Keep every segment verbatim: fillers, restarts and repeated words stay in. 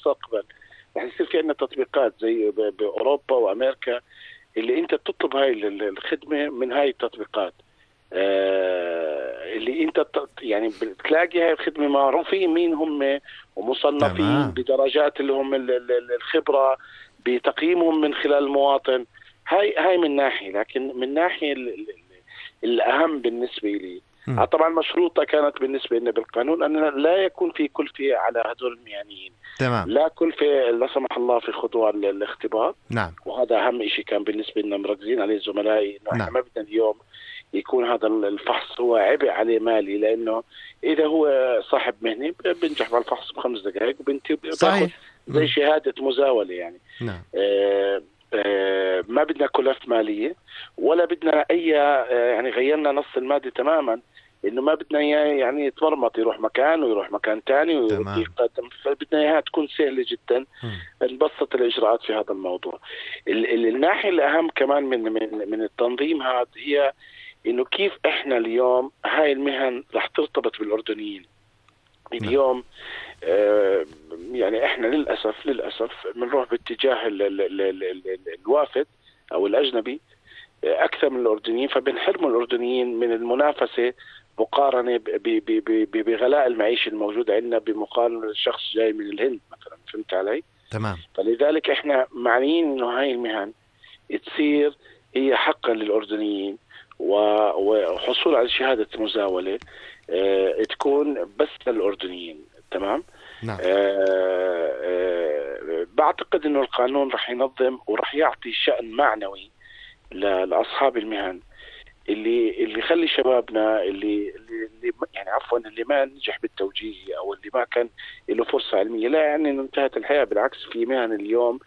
المستقبل رح يصير في عندنا تطبيقات زي بأوروبا وأمريكا اللي أنت تطلب هاي الخدمة من هاي التطبيقات، آه اللي أنت يعني بتلاقي هاي الخدمة معروفين مين هم ومصنفين تمام. بدرجات اللي هم الخبرة بتقييمهم من خلال المواطن. هاي هاي من ناحية، لكن من ناحية الأهم بالنسبة لي م. طبعا مشروطة كانت بالنسبة لنا بالقانون أن لا يكون في كلفة على هذول المهنيين، تمام. لا كلفة لا سمح الله في خضوع الاختبار. نعم. وهذا أهم شيء كان بالنسبة لنا مركزين عليه زملائي، إنه نعم. إحنا ما بدنا اليوم يكون هذا الفحص هو عبء عليه مالي، لأنه إذا هو صاحب مهنة بنجح بالفحص بخمس دقائق وبنتي بتاخذ زي شهادة مزاولة يعني. نعم. آه آه ما بدنا كلف مالية ولا بدنا أي آه يعني غيرنا نص المادة تماما، إنه ما بدنا يعني يتمرمط يروح مكان ويروح مكان تاني ويقدم، فبدنا إياها تكون سهلة جدا نبسط الإجراءات في هذا الموضوع. الناحية الأهم كمان من من من التنظيم هذا هي إنه كيف إحنا اليوم هاي المهن رح ترتبط بالأردنيين. اليوم آه يعني إحنا للأسف للأسف بنروح باتجاه ال ال ال ال ال الوافد أو الأجنبي أكثر من الأردنيين، فبنحرموا الأردنيين من المنافسة مقارنة بغلاء المعيشة الموجودة عندنا بمقارنة للشخص جاي من الهند مثلا. فهمت علي؟ تمام. فلذلك إحنا معنيين إنه هاي المهن تصير هي حقا للأردنيين وحصول على شهادة مزاولة اه تكون بس للأردنيين. تمام. نعم. اه اه بعتقد إنه القانون رح ينظم ورح يعطي شأن معنوي لأصحاب المهن اللي اللي يخلي شبابنا اللي اللي يعني عفوا اللي ما نجح بالتوجيه او اللي ما كان له فرصه علميه، لا يعني انه انتهت الحياه. بالعكس في مهن اليوم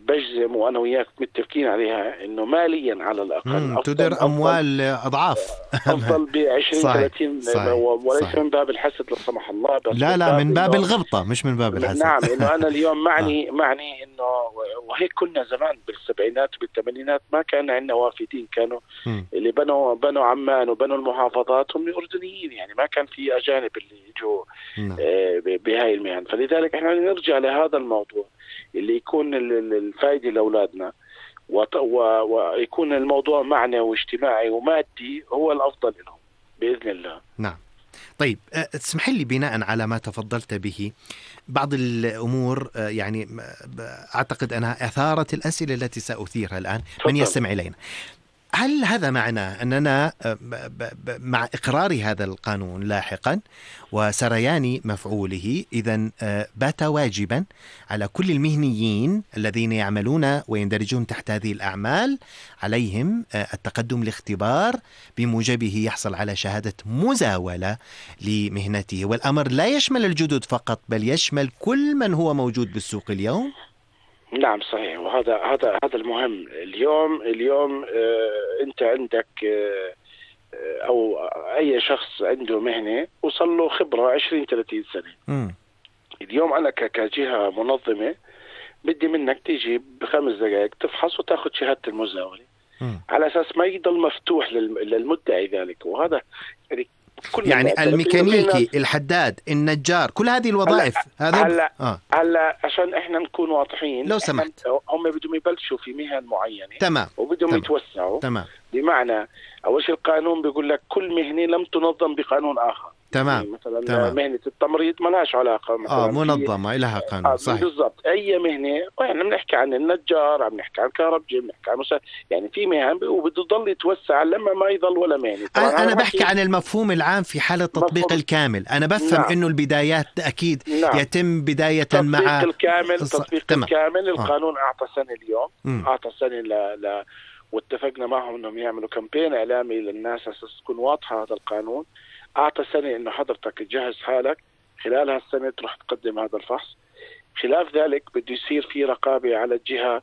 بجزم وانا وياك متفقين عليها انه ماليا على الاقل تدر اموال اضعاف افضل ب عشرين ثلاثين، وليس صحيح. من باب الحسد لا سمح الله، بس لا لا من باب الغبطه مش من باب الحسد. نعم. انه انا اليوم معني آه. معني انه وهيك كنا زمان بالسبعينات وبالثمانينات ما كان عندنا وافدين، كانوا م. اللي بنوا بنوا عمان وبنوا المحافظات هم اردنيين، يعني ما كان في اجانب اللي يجوا آه بهاي المهن. فلذلك احنا نرجع لهذا الموضوع اللي يكون الفائده لاولادنا ويكون الموضوع معنوي واجتماعي ومادي هو الافضل لهم باذن الله. نعم. طيب تسمح لي بناء على ما تفضلت به بعض الأمور يعني أعتقد أنها أثارت الأسئلة التي سأثيرها الآن من يستمع إلينا. هل هذا معنى أننا مع إقرار هذا القانون لاحقا وسريان مفعوله إذن بات واجبا على كل المهنيين الذين يعملون ويندرجون تحت هذه الأعمال عليهم التقدم لاختبار بموجبه يحصل على شهادة مزاولة لمهنته، والأمر لا يشمل الجدد فقط بل يشمل كل من هو موجود بالسوق اليوم؟ نعم صحيح. وهذا هذا هذا المهم اليوم. اليوم آه انت عندك آه او اي شخص عنده مهنه وصل له خبره عشرين ثلاثين سنه. م. اليوم انا كجهه منظمه بدي منك تيجي بخمس دقائق تفحص وتاخذ شهاده المزاوله م. على اساس ما يضل مفتوح للمدعي ذلك. وهذا يعني يعني الميكانيكي الحداد النجار كل هذه الوظائف هذا هلا آه. هلا عشان احنا نكون واضحين لو سمحت هم بدهم يبلشوا في مهن معينه تمام وبدهم تمام. يتوسعوا تمام. بمعنى اول شيء القانون بيقول لك كل مهنه لم تنظم بقانون اخر. تمام. يعني مثلا تمام. مهنه التمريض ما لهاش علاقه مثلا اه منظمه لها قانون. آه صحيح بالضبط. اي مهنه احنا بنحكي عن النجار، عم نحكي عن الكهربجي، بنحكي عن مسا... يعني في مهن وبده يضل يتوسع لما ما يضل ولا مهنه. انا, أنا بحكي عن المفهوم العام في حاله التطبيق مفهوم. الكامل. انا بفهم نعم. انه البدايات اكيد نعم. يتم بدايه تطبيق مع الكامل تطبيق تمام. الكامل. القانون آه. اعطى سنه اليوم م. اعطى سنه ل... ل... واتفقنا معهم انهم يعملوا كامبين اعلامي للناس اساس تكون واضحه هذا القانون. اعطى سنه انه حضرتك تجهز حالك خلال هالسنه تروح تقدم هذا الفحص. خلاف ذلك بده يصير في رقابه على الجهه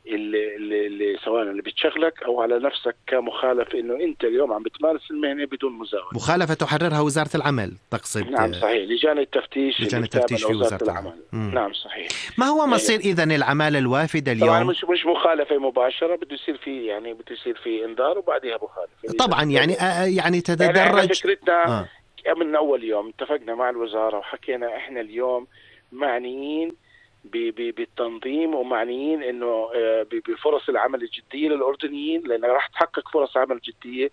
اللي, اللي, اللي سواء اللي بتشغلك او على نفسك كمخالف، انه انت اليوم عم بتمارس المهنه بدون مزاوله. مخالفه تحررها وزاره العمل تقصد؟ نعم صحيح. لجان التفتيش لجان التفتيش في وزاره العمل. العمل. نعم صحيح. ما هو مصير يعني اذا العماله الوافده اليوم؟ طبعا مش مش مخالفه مباشره، بده يصير في يعني بده يصير في انذار وبعدها مخالفه طبعا. يعني آه يعني تتدرج. يعني فكرتنا آه. من اول يوم اتفقنا مع الوزاره وحكينا احنا اليوم معنيين بالتنظيم ومعنيين انه بفرص العمل الجديه للاردنيين، لانها راح تحقق فرص عمل جديه،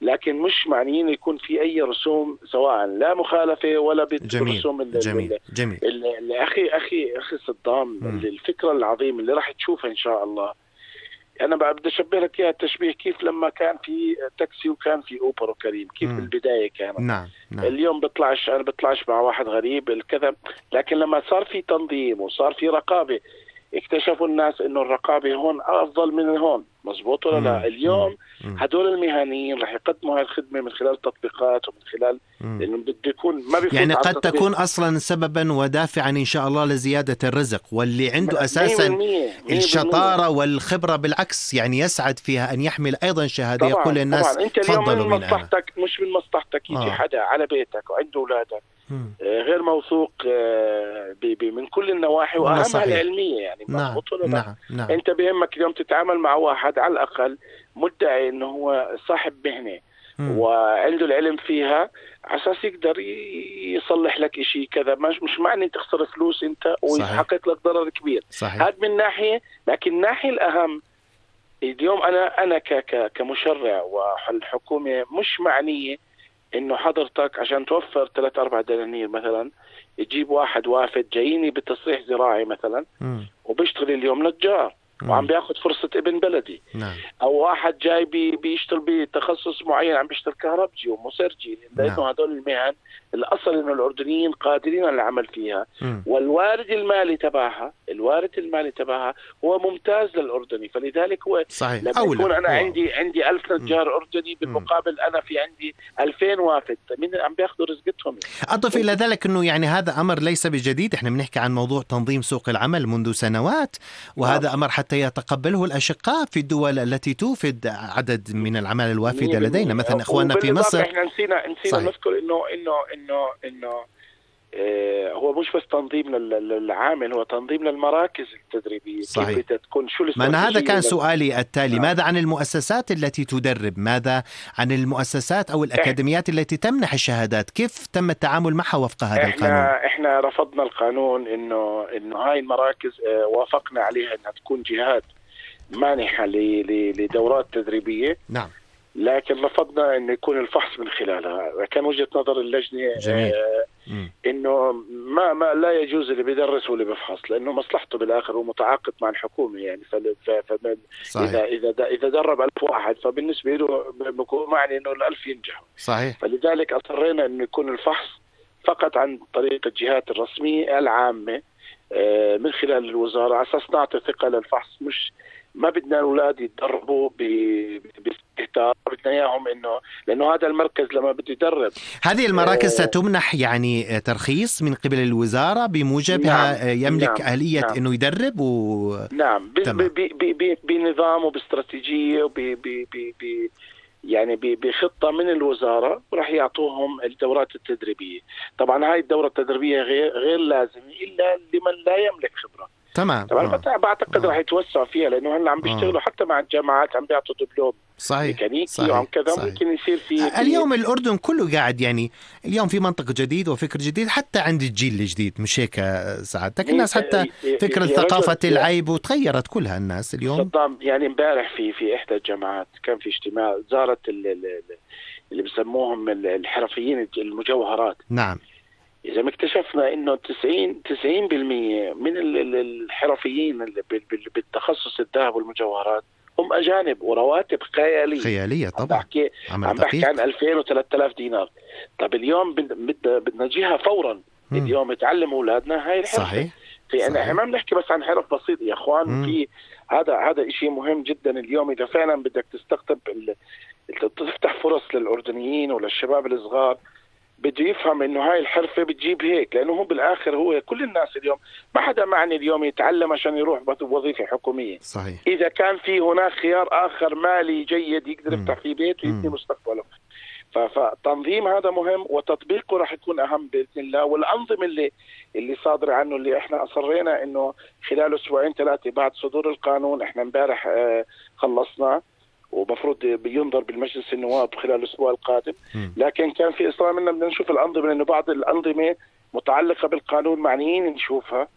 لكن مش معنيين يكون في اي رسوم سواء لا مخالفه ولا بالرسوم. جميل جميل جميل. اللي اخي اخي اخي صدام، الفكره العظيمه اللي راح تشوفها ان شاء الله، انا بدي اشبه لك اياها التشبيه كيف لما كان في تاكسي وكان في اوبر وكريم، كيف مم. بالبدايه كانت. نعم. نعم. اليوم بطلعش انا بطلعش مع واحد غريب الكذا، لكن لما صار في تنظيم وصار في رقابه اكتشفوا الناس انه الرقابه هون افضل من هون. مزبوط ولا لا؟ اليوم مم. هدول المهنيين رح يقدموا هاي الخدمه من خلال تطبيقات ومن خلال انه بده يكون ما بيفوت، يعني قد تكون اصلا سببا ودافعا ان شاء الله لزياده الرزق، واللي عنده اساسا مية بالمية الشطاره والخبره بالعكس يعني يسعد فيها ان يحمل ايضا شهاده يقول للناس طبعا. انت اليوم من مصلحتك، مش من مصلحتك يجي آه. حدا على بيتك وعنده اولادك غير موثوق من كل النواحي واهمها العلميه، يعني نعم. نعم. نعم. انت بيهمك اليوم تتعامل مع واحد على الاقل مدعي انه هو صاحب مهنه مم. وعنده العلم فيها، على اساس يقدر يصلح لك شيء كذا، مش مش معني تخسر فلوس انت ويحقق لك ضرر كبير. هذا من ناحيه، لكن الناحيه الاهم اليوم انا انا ك كمشرع والحكومه مش معنيه انه حضرتك عشان توفر ثلاث اربع دنانير مثلا تجيب واحد وافد جاييني بتصريح زراعي مثلا م. وبيشتغل اليوم نجار وعم بياخد فرصة ابن بلدي. نعم. او واحد جاي بي بيشتغل بتخصص معين عم بيشتغل كهربجي ومسرجي، لانه نعم. هدول المهن الاصل انه الاردنيين قادرين على العمل فيها م. والوارد المالي تبعها الوارد المالي تبعها هو ممتاز للاردني، فلذلك هو صحيح. لما يكون انا أوه. عندي عندي ألف نجار م. اردني بالمقابل انا في عندي ألفين وافد، مين عم بياخذوا رزقتهم؟ اضف الى ذلك انه يعني هذا امر ليس بجديد، احنا بنحكي عن موضوع تنظيم سوق العمل منذ سنوات، وهذا نعم. امر حتى يتقبله الاشقاء في الدول التي توفد عدد من العمالة الوافدة لدينا، مثلا اخواننا في مصر. احنا نسينا نسينا نذكر انه انه انه انه آه هو مش بس تنظيم للعامل، هو تنظيم للمراكز التدريبيه. صحيح. كيف تكون شو ما هذا كان سؤالي التالي. نعم. ماذا عن المؤسسات التي تدرب؟ ماذا عن المؤسسات او الاكاديميات التي تمنح الشهادات؟ كيف تم التعامل معها وفق هذا احنا القانون؟ احنا رفضنا القانون انه انه هاي المراكز آه وافقنا عليها انها تكون جهات مانحه لدورات تدريبيه. نعم. لكن رفضنا انه يكون الفحص من خلالها. كان وجهة نظر اللجنة جميل. آه انه ما ما لا يجوز اللي بيدرس واللي بيفحص، لانه مصلحته بالاخر هو متعاقد مع الحكومة يعني. ف اذا اذا اذا درب ألف واحد فبالنسبة له بيكون معني انه الألف ينجحوا. صحيح. فلذلك اصرينا انه يكون الفحص فقط عن طريق الجهات الرسمية العامة آه من خلال الوزارة، على اساس نعطي ثقة للفحص. مش ما بدنا الاولاد يتدربوا باستهتار، بدنا اياهم انه لانه هذا المركز لما بده يدرب. هذه المراكز آه ستمنح يعني ترخيص من قبل الوزاره بموجبها. نعم. يملك نعم. اليه نعم. انه يدرب و نعم بنظام وباستراتيجيه وب يعني بخطه من الوزاره، وراح يعطوهم الدورات التدريبيه. طبعا هاي الدوره التدريبيه غير غير لازمه الا لمن لا يملك خبره. تمام. طبعا آه. بعتقد راح يتوسع فيها، لانه هلا عم بيشتغلوا آه. حتى مع الجامعات عم بيعطوا دبلوم ميكانيكي وعم كذا. ممكن يصير في اليوم الأردن كله قاعد يعني اليوم في منطق جديد وفكر جديد حتى عند الجيل الجديد، مش هيك سعادتك؟ الناس حتى فكرة ثقافة العيب وتغيرت كلها الناس اليوم. صدام يعني امبارح في في إحدى الجامعات كان في اجتماع زارت اللي بسموهم الحرفيين المجوهرات. نعم. إذا ما اكتشفنا إنه تسعين تسعين بالمية من الحرفيين بالتخصص الذهب والمجوهرات هم أجانب ورواتب خيالية. خيالية طبعا. عم بحكي عم بحكي عن ألفين وثلاثة آلاف دينار. طب اليوم بدنا نجيها فورا. م. اليوم يتعلم أولادنا هاي الحرفة. صحيح. في أنا ما بنحكي بس عن حرف بسيط يا إخوان. م. في هذا هذا إشي مهم جدا اليوم. إذا فعلا بدك تستقطب تفتح فرص للأردنيين وللشباب الصغار، بده يفهم انه هاي الحرفة بتجيب هيك، لانه هو بالاخر هو كل الناس اليوم ما حدا معني اليوم يتعلم عشان يروح بوظيفة حكومية. صحيح. اذا كان في هناك خيار اخر مالي جيد يقدر يفتح فيه بيت ويبني مستقبله. فتنظيم هذا مهم وتطبيقه راح يكون اهم باذن الله. والانظمة اللي اللي صادرة عنه اللي احنا اصرينا انه خلال اسبوعين ثلاثة بعد صدور القانون، احنا امبارح اه خلصنا ومفروض بينظر بالمجلس النواب خلال الأسبوع القادم. لكن كان في إصرار منا بدنا نشوف الأنظمة، لأنه بعض الأنظمة متعلقة بالقانون معنيين نشوفها.